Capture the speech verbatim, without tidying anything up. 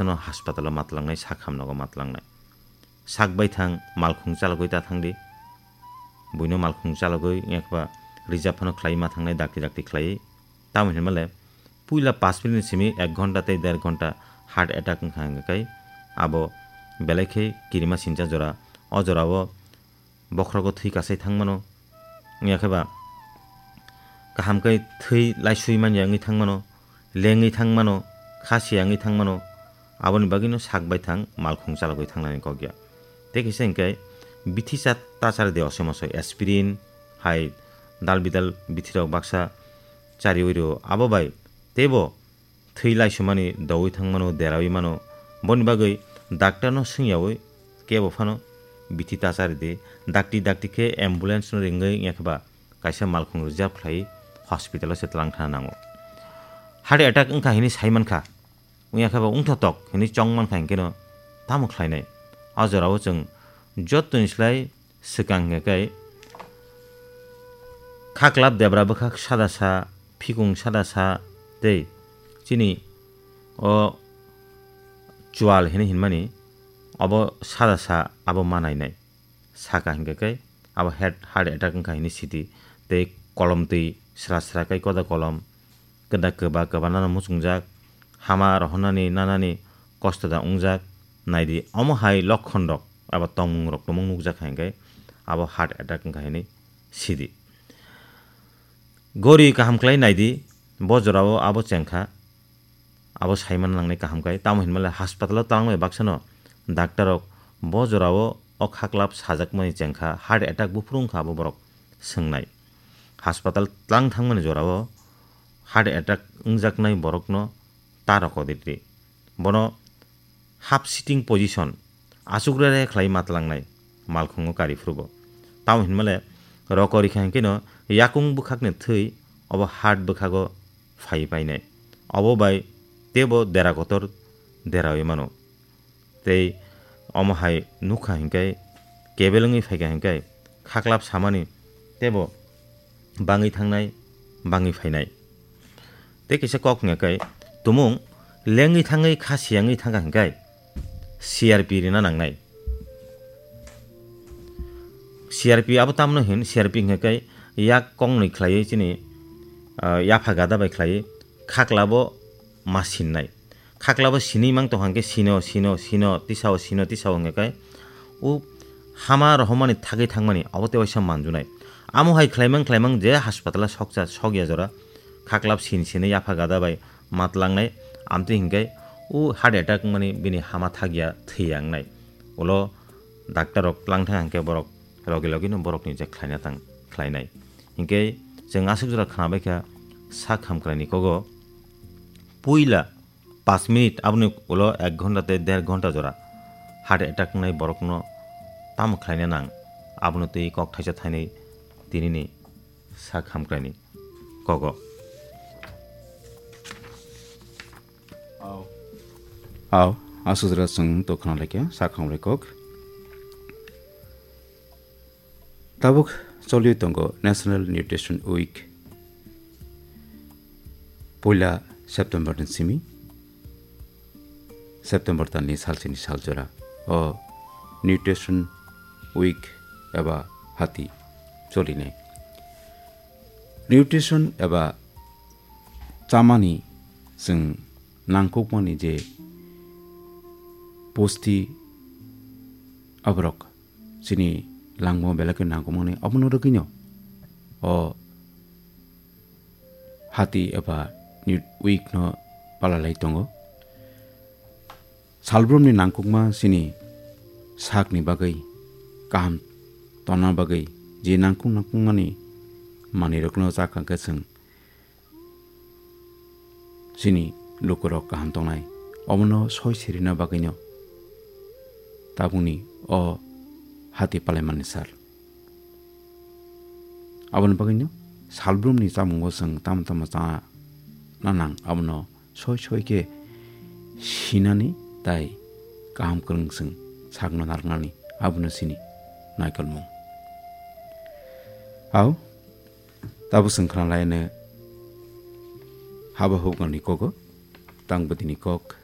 no hospital o matlangnai, sak hamnogo matlangnai. Sak bai thang, malkhung chalogwi ta thangdi. Buino malkhung chalogwi, wngya kheba reserve phano khlai ma thangnai, dakti dakti khlai. Tamo hinmale, puila pash minute ni simi ek ghonta tei der ghonta heart attack wngkha hingkhe kai abo belai khe kirima sincha jora. O jorao bokhrogo thwi kasai thangmano. Wngya kheba kaham khe thwi laisui manya wngwi thangmano, lengwi thangmano, khasiya wngwi thangmano. Aboni bagwino sak bai thang malkhung chalogwi thangnani kok ya. Tei kisa hingkhe bithi cha ta chari de osoi mosoi aspirin hai dal bidal bithirok baksa chariwi rwo. Abo bai teibo thwi laisumani doui thangmano, deraui mano. Boni bagwi daktarno swngyaui kebo phano bithi ta chari di. Dakti dakti khe ambulance no ringwi wngya kheba kaisa malkhung reserve khlai hospital o se tlang thana nango. Heart attack wngkha hini sai mankha, wngya kheba wngthotok hini chong mankha hinkhe no tamo khlainai? O jorao chwng jottoni slai swkang hingkhe kai khaklap debra bwkhak sada sa, phikung sada sa tei chini o chual hini hinmani obo sada sa abo manainai. Saka hingkhe kai abo heart, heart attack wngkha hini sidi tei kolom twi sra sra kai koda kolom. Keda kwba kwba nano muchungjak, hama rohornani nanani kosto da wngjak, naidi omo hai lokhon rok eba tongmung rok tumung nukjak hai hingkhe abo heart attack wngkha hini sidi. Gori kaham khlai naidi, bo jorao abo chengkha, abo saimana nangnai kaham kai, tamo hinmale hospital o tangmani baksano daktar rok bo jorao o khaklap sajakmani chengkha, heart attack buphuru wngkha abo borok swngnai. Hospital tlang thangmani jorao heart attack wngjaknai borokno ta rokodi ri. Bono half sitting position, achuk re re khlai matlangnai malkhungo kari phuru bo. Tamo hinmale rokori kha hinkhe no yakung bwkhakni thwi obo heart bwkhago phai painai. Obo bai teibo dera kotor deraui mano. Tei omo hai nukha hinkhe kebel wngwi phaikha hinkhe khaklap samani teibo bangwi thangnai, bangwi phainai. Tei kisa kok hingya kai tumung lengwi thangwi kha siyangwi thangkha hinkai C R P rina nangnai. C R P abo tamno hin, C R P hingya kai yak kongnwi khlaiwi chini, ah, yapha gada bai khlaiwi khaklabo ma sinnai. Khaklabo sinwi mang tongkha hingke sino, sino, sino, tisao, sino, tisao hingya kai u hama rohormani thagwi thangmani abo tei waisa manjunai. Amo hai khlaimang khlaimang je hospital o soksa, sokya jora khaklap sin sinwi yapha gada bai matlangnai, amtwi hinkhe u heart attack wngmani bini hama thagya thwiya wngnai. Ulo doctor rok tlang thang hinkhe borok logi logi no borokni je khlaina tang khlainai. Hinkhe chwng aswk jora khwnabai kha sak hamkraini kogo puila Pash minute, aboni ulo ek ghonta tei der ghonta jora heart attack wngnai borokno tamo khlaina nang, abono twi kok thaisa thainwi tinini sak hamkraini kogo. Aw, aswk jora chwng to khna laikha sak hamkrai kok. Tabuk choli tongo National Nutrition Week. Puila September ni simi, September talni salsini saljora o Nutrition Week eba hati cholinai. Nutrition eba chamani chwng nangkukmani je pusti aborok chini langmao belai khe nangkukmani, obono rwgwino o hati eba ni week no palalai tongo. Salbrumni nangkukma chini sakni bagwi, kaham tonna bagwi je nangkuk nangkukmani manwirokno chakha khe chwng chini lukurok kaham tongnai. Omono soi sirina bagwino tabukni o hati palaimani sal. Aboni bagwino salbrumni chamungo chwng tamo tamo chana nang, abono soi soi khe sinani tai kaham kwrwng chwng sakno narwknani, abono chini naikolmung. Au, Tabuk chwng khna laino haba huknani kogo, tang bwtwini kok,